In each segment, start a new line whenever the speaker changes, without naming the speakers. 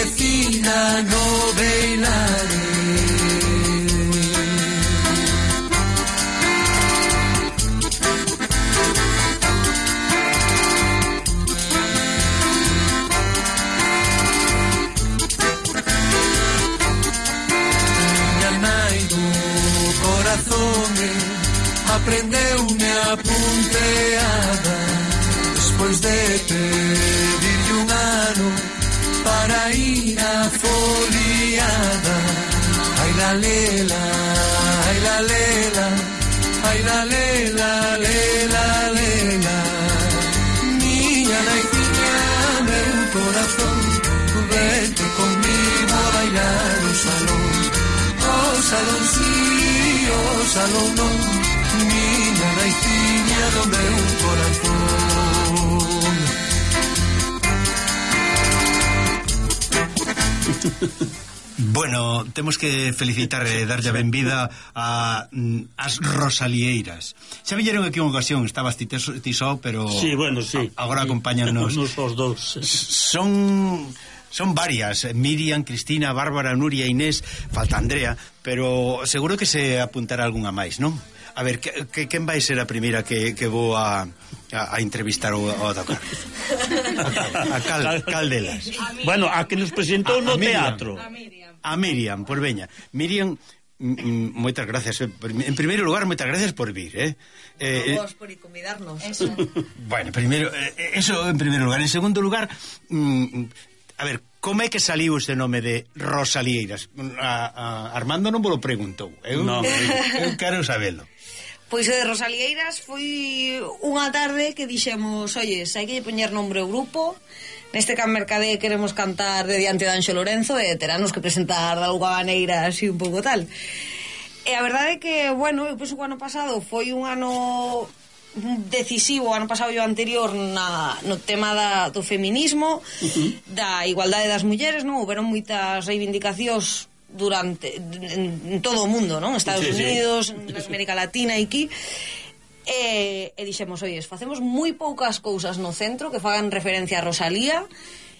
fina no beilare. Aprendeume a punteada despois de pedirlle un ano para ir a foliada. Ai la lela, ai la lela, ai la lela, lela, lela. Miña naiciña, meu corazón, vete conmigo a bailar o salón. O salón sí, o salón non. Miña naiciña do meu corazón.
Bueno, temos que felicitar e darlle a benvida a as Rosalieiras. Xa viñeron aquí unha ocasión, estabas ti só, pero
sí, bueno, sí.
Agora acompáñanos.
Nos os dous.
Son varias, Miriam, Cristina, Bárbara, Nuria, Inés, falta Andrea, pero seguro que se apuntará algunha máis, non? A ver, quen vai ser a primeira que vou a entrevistar ou a tocar? A cal delas?
Bueno, a que nos presentou no teatro.
A Miriam, por veña. Miriam, moitas gracias. En primeiro lugar, moitas gracias por vir,
Vos por convidarnos. Eso.
Bueno, primeiro, eso en primeiro lugar. En segundo lugar, a ver, como é que saliu este nome de Rosalieiras? Armando non vos lo preguntou. Eu quero sabelo.
Pois o de Rosalieiras foi unha tarde que dixemos, oye, hai que poñer nombre ao grupo. Neste Can Mercadé queremos cantar de diante de Anxo Lorenzo e teranos que presentar de alguna maneira así un pouco tal. E a verdade é que, bueno, eu penso que o ano pasado foi un ano decisivo, o ano pasado e o anterior no tema do feminismo, da igualdade das mulleres, non? Houberon moitas reivindicacións en todo o mundo, non? Estados Unidos, na América Latina e aquí. E dixemos, oye, facemos moi poucas cousas no centro que fagan referencia a Rosalía,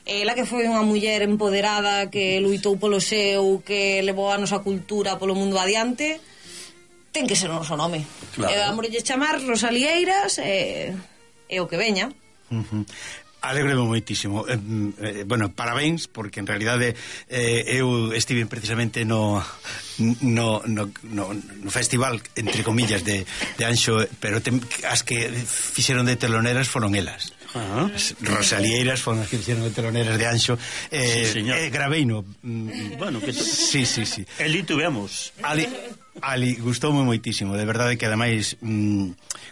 ela que foi unha muller empoderada que luitou polo seu, que levou a nosa cultura polo mundo adiante, ten que ser o noso nome. Claro. Vamos a chamar Rosalieiras e o que veña.
Alégrome moitísimo. Bueno, parabéns, porque en realidade eu estive precisamente no festival, entre comillas, de Anxo, pero as que fixeron de teloneras foron elas. Rosalieiras foron as que fixeron de teloneras de Anxo. Graveino.
Bueno, que
sí.
Ali tuvemos.
Ali gustoume moitísimo, de verdade que ademais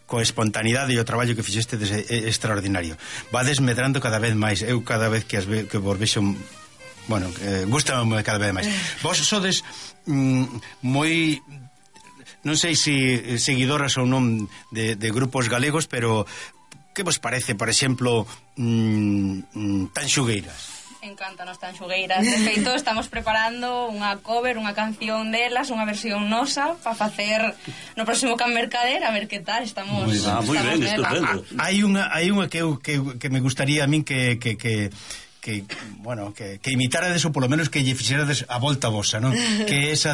coa espontaneidade e o traballo que fixeste é extraordinario. Vades medrando cada vez máis. Eu cada vez que vos vexo, bueno, gustame cada vez máis. Vos sodes moi, non sei se seguidoras ou non de grupos galegos, pero que vos parece, por exemplo, Tanxugueiras?
Encantanos Tanxugueiras. De feito, estamos preparando unha cover, unha canción delas, unha versión nosa para facer no próximo Can Mercader, a ver que tal. Estamos
moi ben, estupendo.
Hai unha que me gustaría a min que imitárades ou polo menos que lle fixerades a volta vosa, non? Que é esa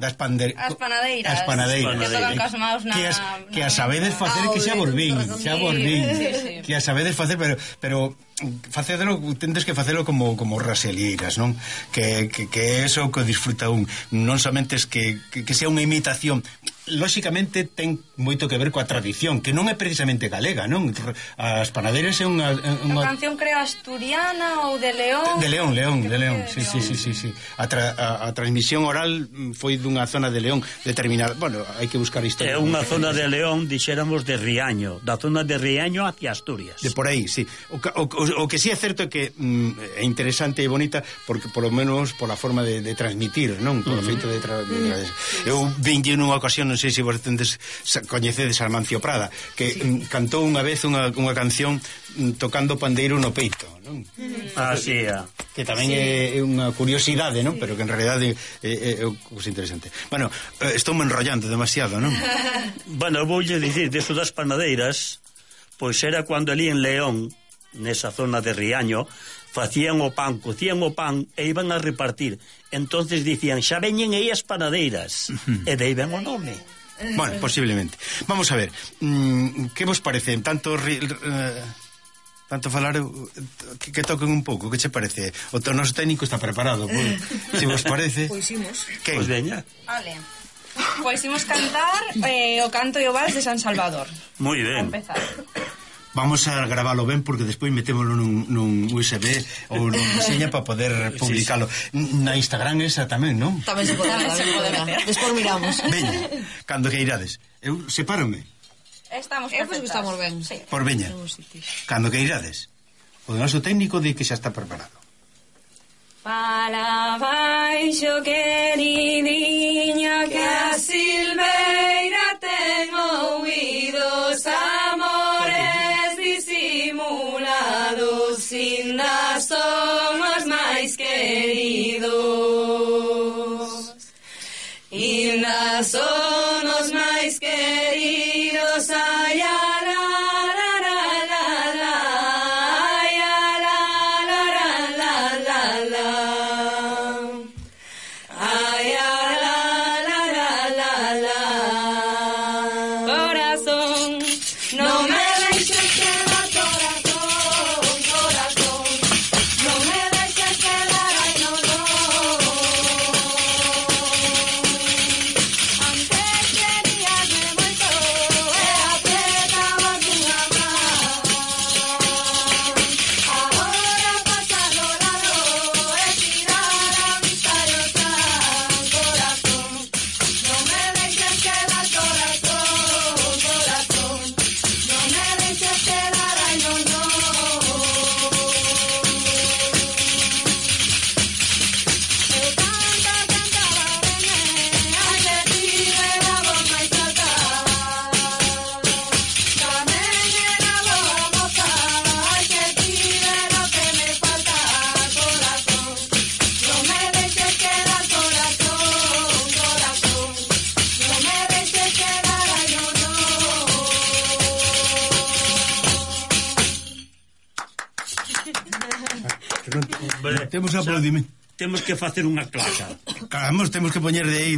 das panadeiras.
As panadeiras. Que tocan cas maus na...
Que a sabedes facer, que xa volvín. Que a sabedes facer, pero facedelo, tendes que facelo como Rosalieiras, non? Que eso que disfruta un, non somente es que sea unha imitación. Lóxicamente ten moito que ver coa tradición, que non é precisamente galega, non? As panadeiras é unha...
A canción creo asturiana ou de León.
De León, sí. A transmisión oral foi dunha zona de León determinada. Bueno, hai que buscar historia.
É unha zona de León, dixéramos de Riaño, da zona de Riaño hacia Asturias.
De por aí, sí. O que sí é certo é que é interesante e bonita porque polo menos pola forma de transmitir, non? Polo feito de eu vinlle nunha ocasión, non sei se vos coñecedes a Amancio Prada, que cantou unha vez unha canción tocando pandeiro no peito, non?
Sí.
Que tamén é unha curiosidade, non? Pero que en realidade é cousa interesante. Bueno, estou me enrollando demasiado, non?
Bueno, voulle dicir, deso das panadeiras, pois era cando ali en León, nesa zona de Riaño, facían o pan, cocían o pan e iban a repartir. Entonces dicían, xa veñen aí as panadeiras. E dei ben o nome.
Bueno, posiblemente. Vamos a ver, que vos parece? Tanto falar que toquen un pouco, que che parece? O noso técnico está preparado, se vos parece.
Pois imos.
Quen?
Pois veña.
Vale. Pois imos cantar o canto e o vals de San Salvador.
Moi
A
ben.
empezar.
Vamos a graválo ben porque despois metémoslo nun USB ou nun seña para poder publicalo. Na Instagram esa tamén, non?
Tamén se pode
meter.
Despois miramos.
Veña, cando que irades. Eu sepárome
Estamos
Pois
perfectas.
estamos ben.
Sí.
por veña. Cando que irades. O noso técnico di que xa está preparado.
Para baixo, queridiña, que a silveira ten ouídos amores disimulados, inda son os máis queridos. Inda son os máis queridos, ai, la, la, la, la, la, ai, la, la, la, la, la, la. Ay, la, la, la, la, la. Corazón, no me dejes quedar, corazón, corazón, no me dejes quedar, ay, no, no. Antes queríasme moito, e apretabas unha man. Agora pasar o lado, e tirar a vista e o san. Corazón, no me dejes quedar, corazón, corazón, no me dejes quedar, ay, no, no. Eu cantaba, ai, que tive a voz máis alta. Tamén era boa moza, ai, que tive lo que me falta. Corazón, no me dejes quedar, corazón, corazón, no me dejes quedar, ay, no, no.
Temos aplaudimento.
Temos que facer unha claca.
Caramba, temos que poñer de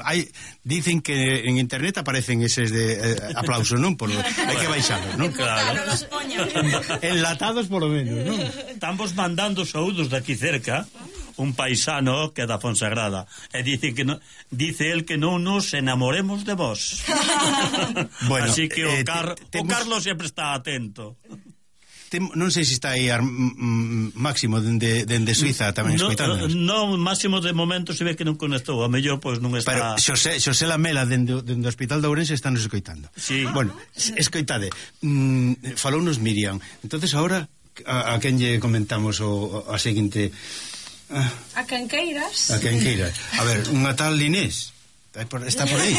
aí, dicen que en internet aparecen eses de aplauso, non? Hai que baixalos, non?
Claro.
Enlatados polo menos, non?
Estamos mandando saúdos de aquí cerca, un paisano que é da Fonsagrada, e dice que dice el que non nos enamoremos de vos.
Bueno,
así que o
temos-
Carlos sempre está atento.
Non sei se está aí Máximo dende Suiza tamén escoitándonos.
No, Máximo de momento se ve que non conectou, a mellor pois non
Pero
está.
Xosé Lamela dende o Hospital de Ourense está nos escoitando.
Sí.
Bueno, escoitade, falounos Miriam. Entonces ahora a quen lle comentamos a seguinte
A quen queiras.
a quen queira. A ver, unha tal Inés. Está por aí.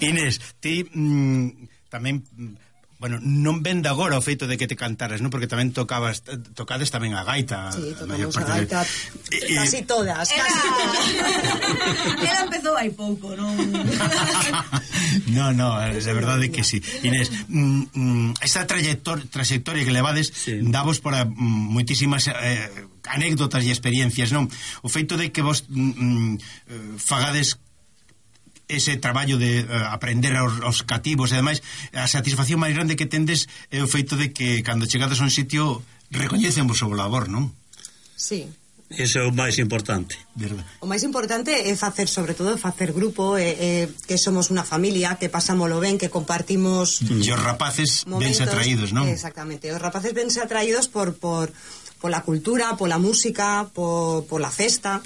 Inés, ti tamén bueno, non vende agora o feito de que te cantaras, non? Porque tamén tocades tamén a gaita.
Sí, tocamos a gaita casi todas, casi todas.
Ela empezou hai pouco, non?
No, de verdade que sí. Inés, esta trayectoria que levades
sí,
davos para moitísimas anécdotas e experiencias, non? O feito de que vos fagades ese traballo de aprender aos cativos e ademais a satisfacción máis grande que tendes é o feito de que cando chegades a un sitio recoñecen vos o labor, non?
Sí.
Ese é o máis importante.
Verdad.
O máis importante é facer, sobre todo, facer grupo, que somos unha familia, que pasámolo ben, que compartimos
E os rapaces vense atraídos, non?
Exactamente, os rapaces vense atraídos pola cultura, pola música, pola festa.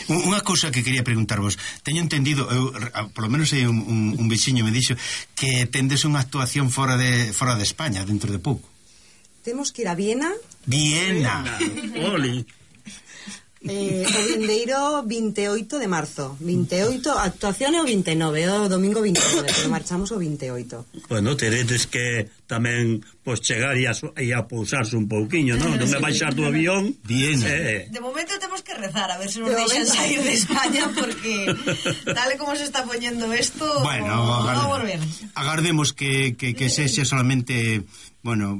Unha cousa que quería preguntarvos, teño entendido, eu, polo menos hai un veciño me dixo que tendes unha actuación fora de España dentro de pouco.
Temos que ir a Viena
Oli.
o vindeiro 28 de marzo. 28, a actuación é o 29, o domingo 29, pero marchamos o 28.
Bueno, teredes que tamén pois chegar e a pousarse un pouquiño, non? Non me baixar do avión.
Viena.
De momento temos que rezar a ver se nos deixan sair de España porque tal e como se está poñendo esto,
Bueno,
vamos ver.
agardemos que sexa solamente, bueno,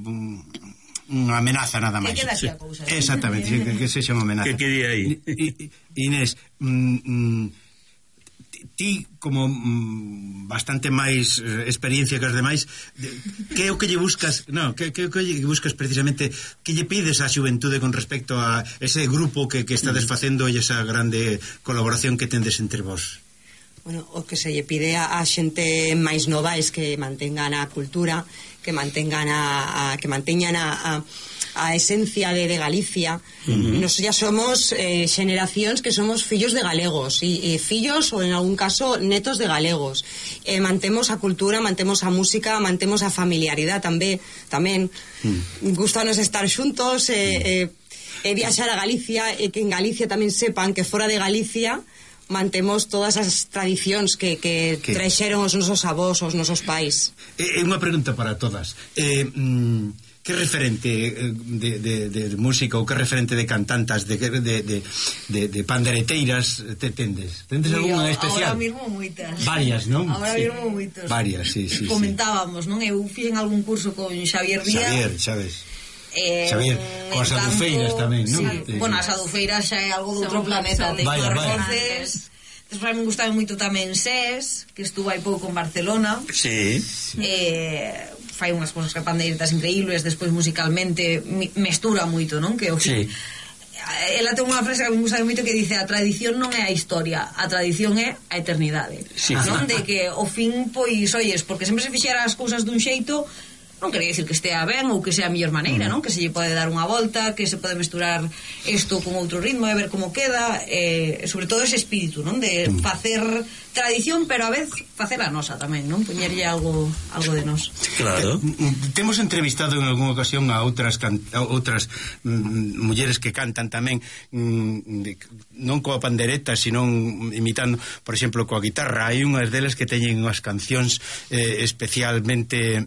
unha amenaza nada máis.
Que queda aquí a cousa.
Exactamente, que sexa unha amenaza.
Que quede aí.
Inés, ti como bastante máis experiencia que os demais, que é o que lle buscas, que lle buscas precisamente, que lle pides á xuventude con respecto a ese grupo que estades facendo e esa grande colaboración que tendes entre vos?
Bueno, o que se lle pide a xente máis nova é que mantengan a cultura, que manteñan a esencia de Galicia. Nos ya somos xeneracións que somos fillos de galegos e fillos ou en algún caso netos de galegos. Mantemos a cultura, mantemos a música, mantemos a familiaridade tamén. Gustanos estar xuntos viaxar a Galicia e que en Galicia tamén sepan que fora de Galicia mantemos todas as tradicións que traxeron os nosos avós, os nosos pais.
É unha pregunta para todas. Que referente de música ou que referente de cantantas, de pandereteiras tendes? Tendes algunha especial?
Ahora mismo moitas.
Varias, non?
Ahora mismo moitas.
Varias, sí.
Comentábamos, non? Eu fui en algún curso con Xavier Díaz.
Xavier, sabes? Xavier, con as adufeiras tamén, non?
Sí. Bueno, as adufeiras xa é algo de outro planeta.
Vaya.
Despois me gustaba moito tamén SES, que estuvo hai pouco en Barcelona.
Sí.
Fai unhas cosas que pandeiretas increíbles. Despois musicalmente mestura moito, non? Que o fin, ela ten unha frase que me gusta moito que dice: a tradición non é a historia, a tradición é a eternidade.
Sí.
Non? De que o fin, pois, oyes, porque sempre se fixera as cousas dun xeito, non quería dicir que estea ben ou que sea a mellor maneira, non? Que se lle pode dar unha volta, que se pode mesturar isto con outro ritmo e ver como queda, sobre todo ese espírito, non? De facer tradición, pero a vez facer a nosa tamén, non? Poñerlle algo de nós.
Claro.
Temos entrevistado en algunha ocasión a outras mulleres que cantan tamén, non coa pandereta, sino imitando, por exemplo, coa guitarra. Hai unhas delas que teñen unhas cancións especialmente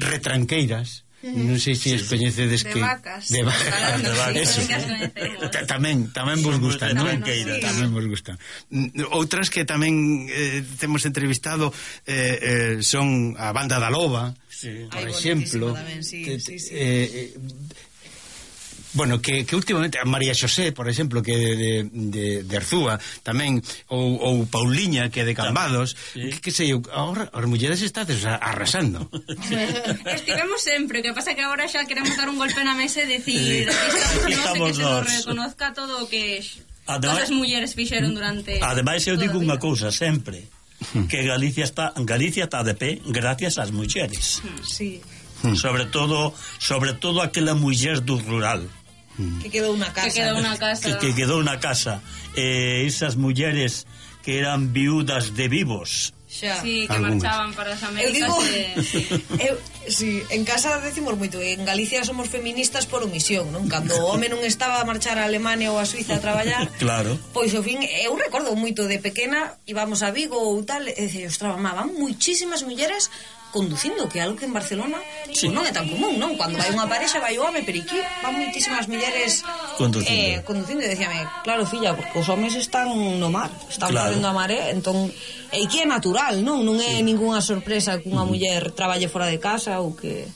retranqueiras. Non sei se coñecedes que
de vacas.
Eso. Tamén vos gustan, non? Tamén vos gustan. Outras que tamén temos entrevistado son a Banda da Loba, por exemplo. Bueno, que últimamente a María Xosé, por exemplo, que de Arzúa tamén, ou Pauliña, que é de Cambados, que sei eu, agora as mulleres estades arrasando.
Estivemos sempre, que pasa que agora xa queremos dar un golpe na mesa e decir estamos que se nos reconozca todo o que todas as mulleres fixeron durante.
Ademais eu digo unha cousa sempre, que Galicia está de pé gracias ás mulleres.
Sí.
Sobre todo aquela muller do rural
que quedou na casa.
Que quedou na casa. Esas mulleres que eran viudas de vivos.
Xa.
Sí, que marchaban para as Américas.
Sí, en casa decimos moito, en Galicia somos feministas por omisión, non? Cando o home non estaba a marchar a Alemania ou a Suiza a traballar,
claro.
Pois ao fin, eu recordo moito de pequena, íbamos a Vigo ou tal, e dicía, ostras, mamá, van muchísimas mulleres conducindo, que é algo que en Barcelona non é tan común, non? Cando vai unha parexa, vai o home, pero aquí van muitísimas mulleres conducindo, e decíame, claro, filla, porque os homes están no mar, están correndo a maré, entón, e que é natural, non? Non é ningunha sorpresa que unha muller traballe fora de casa ou que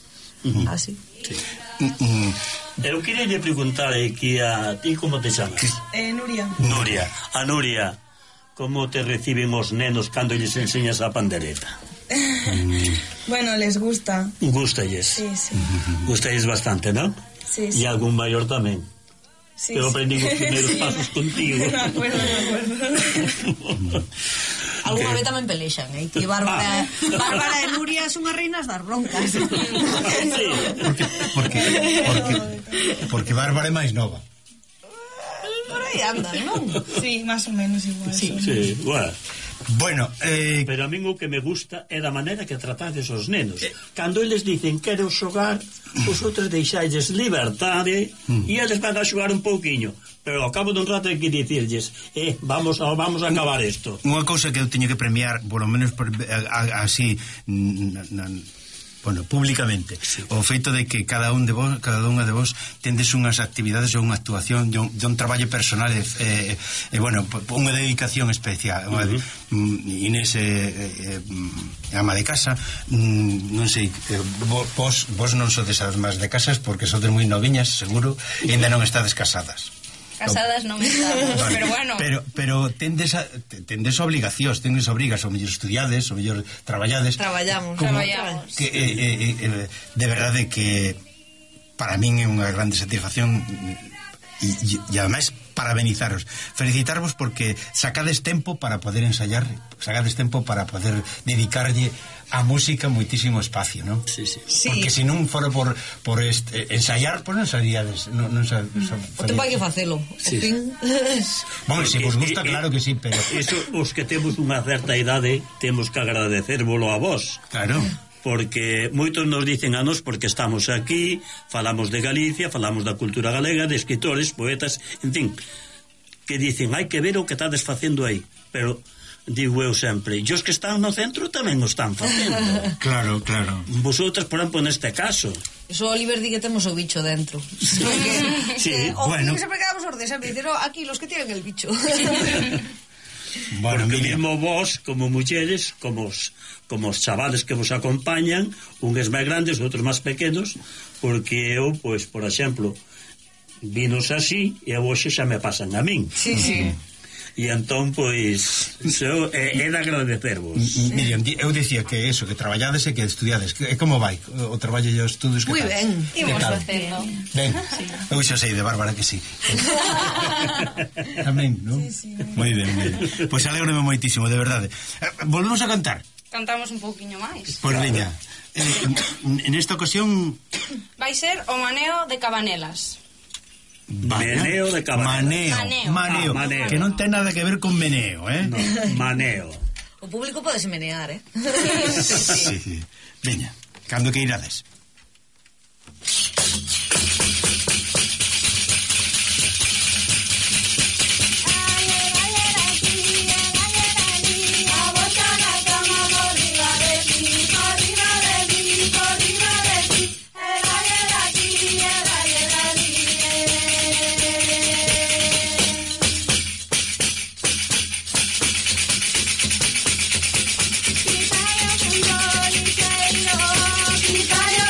así.
Eu queria lle preguntar aquí a ti, como te chamas?
Nuria.
A Nuria, como te reciben os nenos cando lles enseñas a pandereta?
Bueno, les gusta.
Gústalles.
Sí.
Gústalles bastante, ¿no?
Sí.
E algún maior tamén.
Sí,
Eu aprendí os primeiros pasos contigo.
Me acuerdo.
Alguna vez tamén pelexan, que Bárbara e Nuria son as reinas das broncas.
Porque Bárbara é máis nova.
Por aí andan, non?
Sí, más o menos igual.
Sí, bueno.
Bueno,
pero a min o que me gusta é da maneira que tratades os nenos. Cando eles dicen quero xogar, os outros deixailles liberdade e eles van a xogar un pouquiño, pero ao cabo dun rato hai que dicirlles vamos a acabar isto.
Unha cousa que eu teño que premiar, por lo menos así bueno, públicamente, o feito de que cada unha de vos tendes unhas actividades ou unha actuación de un traballo personal bueno, unha dedicación especial. Inés ama de casa, non sei, vos non sodes amas de casas porque sodes moi noviñas, seguro, e ainda non estades casadas.
Casadas non estamos, vale. Pero bueno.
Pero tendes obligacións, tendes obrigas, ou mellor estudiades, ou mellor traballades.
Traballamos.
Que, de verdade que para min é unha grande satisfacción e ademais parabenizaros, felicitarvos porque sacades tempo para poder ensayar, sacades tempo para poder dedicarlle a música moitísimo espacio, non?
Sí.
Porque se non fora por ensayar, pois non saríades, non
o tempo hai que facelo.
Sí.
Bueno, se vos gusta, claro que sí, pero
eso, os que temos unha certa idade temos que agradecérvolo a vos.
Claro.
Porque moitos nos dicen a nos porque estamos aquí, falamos de Galicia, falamos da cultura galega, de escritores, poetas, en fin, que dicen, hai que ver o que estades facendo aí, pero digo eu sempre, e os que están no centro tamén o están facendo.
Claro.
Vosotras, por exemplo, neste caso.
Eso Oliver di que temos o bicho dentro.
Sí,
bueno. Sempre quedamos ordes, sempre dicen, aquí los que tienen el bicho.
Bueno, porque mesmo vos, como mulleres, como os chavales que vos acompañan, uns máis grandes, outros máis pequenos, porque eu, pois, por exemplo, vinos así, e hoxe xa me pasan a min.
Sí.
E entón, pois, é de agradecervos.
Miriam, eu dicía que eso, que traballades e que estudiades. E como vai o traballo e os estudos?
Moi ben.
Imos facendo.
Ben, eu xa sei de Bárbara que sí. Tamén, non?
Sí.
Moi ben. Pois alégrome moitísimo, de verdade. Volvemos a cantar.
Cantamos un pouquiño máis.
Pois veña. En esta ocasión
vai ser o Maneo de Cabanelas.
Meneo de Cabanelas.
Maneo. Que non ten nada que ver con meneo,
No, maneo.
O público pode se menear,
Sí. Veña, cando que irades.
Quitario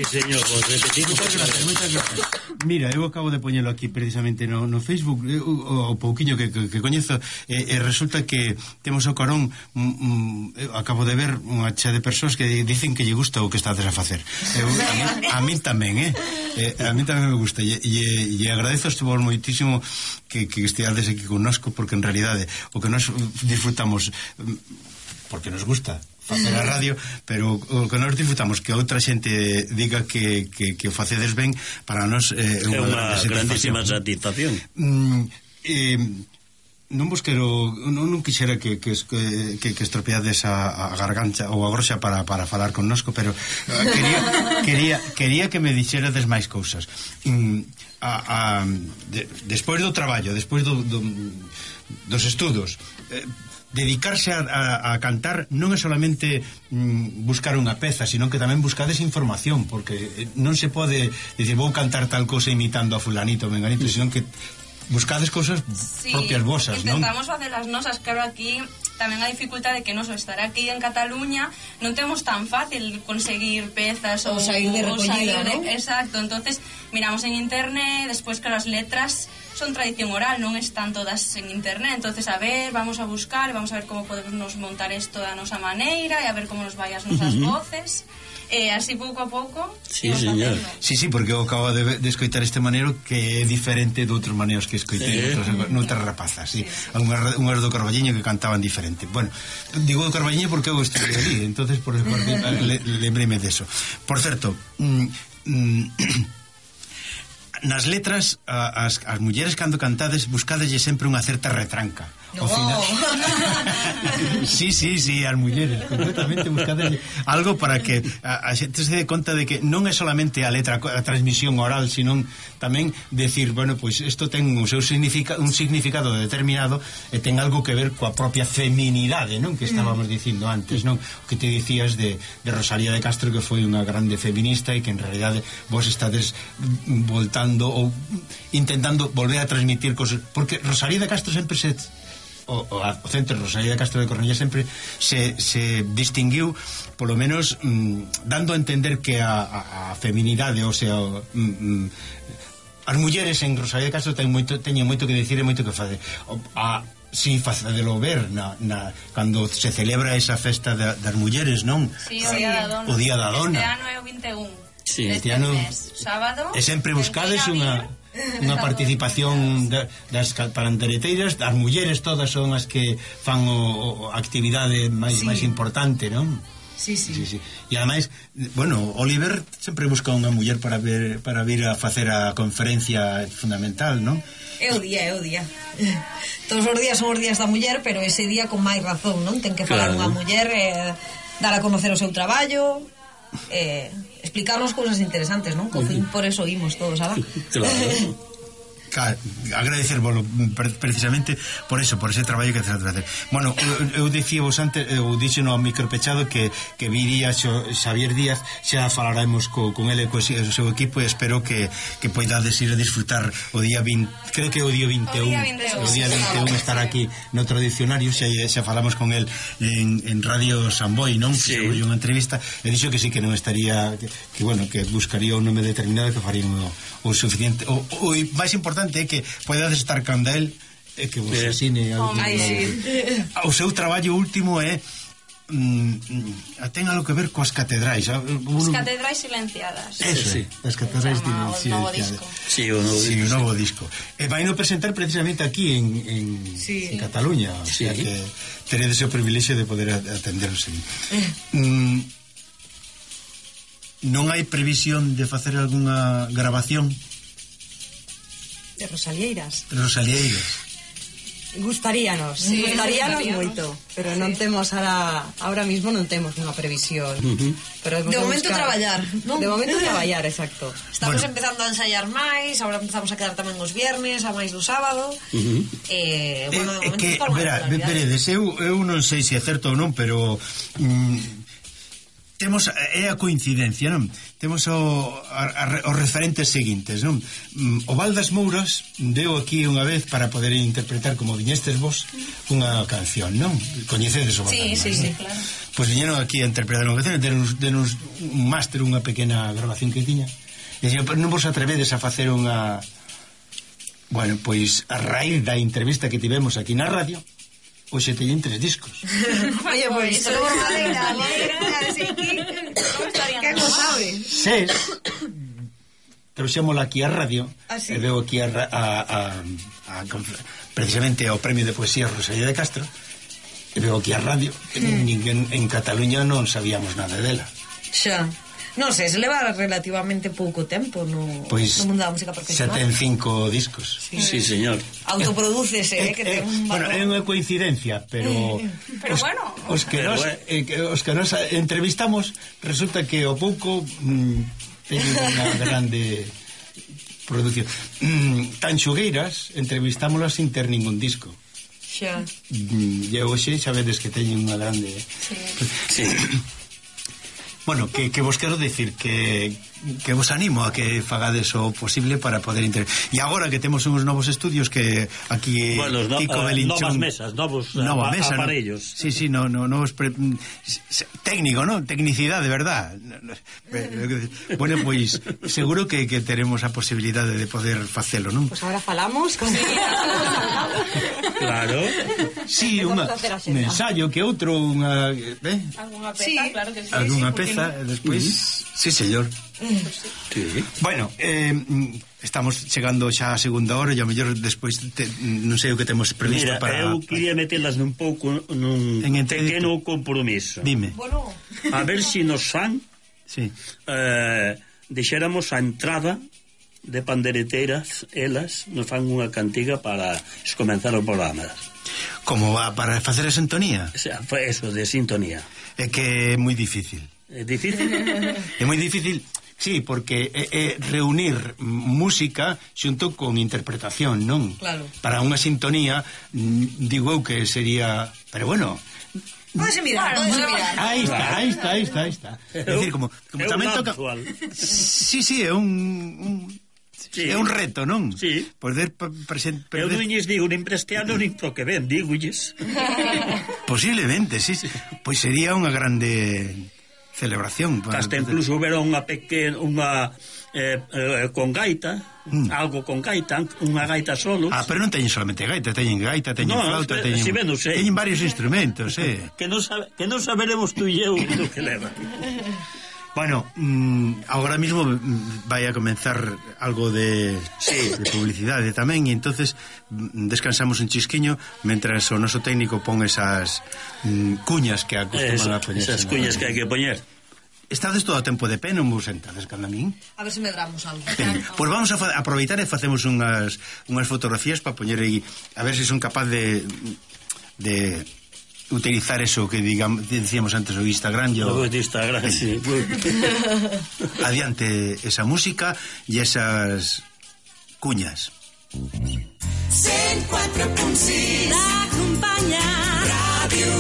señor, vos repetimos.
Moitas gracias. Mira, eu acabo de poñelo aquí precisamente no Facebook, o pouquiño que coñezo, e resulta que temos o carón, acabo de ver unha chea de persoas que dicen que lle gusta o que estades a facer. A min tamén, a min tamén me gusta, e agradezo vos moitísimo que esteades aquí connosco, porque en realidade o que nos disfrutamos, porque nos gusta facer a radio, pero o que nos disfrutamos que outra xente diga que o facedes ben, para nós é unha
grandísima satisfacción.
Non vos quero, non quixera que estropeades a garganta ou a groxa para falar connosco, pero quería que me dixerades máis cousas. Despois do traballo, despois dos estudos, dedicarse a cantar non é solamente buscar unha peza, sino que tamén buscades información, porque non se pode dicir vou cantar tal cosa imitando a fulanito ou menganito, sino que buscades cousas propias vosas, non?
Intentamos facer as nosas, claro, aquí tamén a dificultade que nos estar aquí en Cataluña non temos tan fácil conseguir pezas
ou sair de recollida, ¿no?
Exacto, entonces miramos en internet, despois que as letras son tradición oral, non están todas en internet, entonces a ver, vamos a buscar, vamos a ver como podemos montar isto da nosa maneira e a ver como nos vai as nosas voces. Así pouco a pouco.
Sí, señor.
Sí, porque eu acabo de escoitar este maneiro que é diferente de outros maneiros que escoitei noutras rapazas, sí. Unhas do Carballiño que cantaban diferente. Bueno, digo do Carballiño porque eu estive ali, entonces por lembreme deso. Por certo, nas letras as mulleres cando cantades buscadelle sempre unha certa retranca.
No.
Sí, as mulleres completamente buscadelle algo para que a xente se dé conta de que non é solamente a letra, a transmisión oral, sino tamén decir, bueno, pois isto ten o seu un significado determinado e ten algo que ver coa propia feminidade, non? Que estábamos dicindo antes, non? O que te dicías de Rosalía de Castro, que foi unha grande feminista e que en realidade vos estades voltando ou intentando volver a transmitir cosas, porque Rosalía de Castro sempre o centro Rosalía de Castro de Cornellá sempre se distinguiu, polo menos dando a entender que a feminidade, o sea, as mulleres en Rosalía de Castro teñen moito que dicir e moito que facer. Si, facedelo ver cando se celebra esa festa das mulleres, non?
Sí, o Día da Dona. Este ano é o 21.
Sí,
este ano sábado.
E sempre buscades unha participación das pandereteiras, as mulleres todas son as que fan a actividade máis importante, non?
Sí.
E ademais, bueno, Oliver sempre busca unha muller para vir a facer a conferencia fundamental, non?
É o día. Todos os días son os días da muller, pero ese día con máis razón, non? Ten que falar unha muller, dar a conocer o seu traballo, explicarnos cousas interesantes, non? Por eso oímos todos, ¿sabes?
Claro, agradecérvolo precisamente por eso, por ese traballo que tens a facer. Bueno, eu dicíavos antes, eu dixo no micropechado que viría Xavier Díaz, xa falaremos con ele e co seu equipo, e espero que poidades ir a disfrutar o día 20, creo que o día 21 estar aquí no tradicionario, xa falamos con el en Radio Samboy, non?
Sí.
Foi unha entrevista e dixo que sí, que non estaría, que bueno, que buscaría un nome determinado, que faría o suficiente, o máis importante é que poidades estar canda el e que vos asine o seu traballo último é ten algo que ver coas catedrais,
as catedrais silenciadas.
Eso, as catedrais silenciadas.
Sí,
o novo disco. E vai no presentar precisamente aquí en Cataluña, o sea que teredes o privilexio de poder atenderos ali. Non hai previsión de facer algunha grabación
de Rosalieiras? Gustaríanos moito, pero non temos ahora mismo non temos unha previsión. Pero
de momento traballar, non?
De momento traballar, exacto.
Estamos empezando a ensaiar máis, agora empezamos a quedar tamén os viernes, a máis do sábado. Bueno, de momento
veredes, eu non sei se é certo ou non, pero temos a coincidencia, non? temos os referentes seguintes, non? O Val das Mouras deu aquí unha vez para poder interpretar, como viñestes vos, unha canción, non? Coñecedes o Val das Mouras?
Sí, claro.
Pois viñeron aquí a interpretar unha canción, denos un máster, unha pequena grabación que tiña. E dixen, non vos atrevedes a facer unha... Bueno, pois a raíz da entrevista que tivemos aquí na radio, hoxe teñen 3 discos.
Oye, pois, solo por madera, que non sabe?
6 trouxémola aquí a radio, e veo aquí precisamente ao premio de poesía Rosalía de Castro, e veo aquí a radio, que ninguén en Cataluña non sabíamos nada dela.
Xa. Non sei, se leva relativamente pouco tempo no mundo da música profesional.
Xa ten 5 discos.
Sí, señor.
Autoprodúcese, que ten un valor.
Bueno, é unha coincidencia, pero
bueno.
Os que nos entrevistamos, resulta que o pouco teñen unha grande producción. Tanxugueiras, entrevistámolas sin ter ningún disco.
Xa.
E hoxe xa vedes que teñen unha grande...
Sí.
Bueno, que vos quero decir que vos animo a que fagades o posible para poder e agora que temos uns novos estudios que aquí Kiko Belinchón,
novas mesas, novos aparellos.
Sí, novos técnico, ¿no? Tecnicidade, de verdad. Bueno, pois seguro que teremos a posibilidade de poder facelo, non?
Pois agora falamos con
Claro.
Sí, un ensayo que outro, unha
Alguna peza, claro que sí.
Alguna peza, despois. Sí, señor.
Sí.
Bueno, estamos chegando xa a segunda hora e a mellor despois non sei o que temos previsto.
Mira,
para...
eu quería metelas nun pouco nun pequeno compromiso.
Dime.
Bueno.
A ver se nos fan deixéramos a entrada de pandereteiras, elas nos fan unha cantiga para comenzar o programa.
Como para facer a sintonía?
O sea, eso, de sintonía.
É que é moi difícil.
É difícil?
É moi difícil, sí, porque é reunir música xunto con interpretación, non?
Claro.
Para unha sintonía, digo eu que sería... Pero bueno...
Pódese mirar.
Aí está. É dicir, como tamén toca... Sí, é un... Sí. É un reto, non?
Sí.
Poder
Eu non lles digo nin prestiano nin pro que ven, digolles.
Posiblemente, sí. Pois sería unha grande celebración.
Hasta incluso hubiera unha pequena con gaita, algo con gaita, unha gaita solo.
Pero non teñen solamente gaita, teñen flauta, teñen varios instrumentos,
que non saberemos tú e eu do que leva.
Bueno, agora mismo vai a comenzar algo de publicidade tamén, e entonces descansamos un chisquiño mentras o noso técnico pon esas cuñas que acostuman a poñer.
Esas cuñas que hai que poñer.
Estades todo o tempo de pé, non vos sentades cando a min?
A ver se medramos algo.
Pois vamos a aproveitar e facemos unhas fotografías para poñer aí, a ver se son capaz de utilizar eso que decíamos antes, o Instagram.
O Instagram, sí.
Adiante esa música e esas cuñas.
104.6 la acompanya Ràdio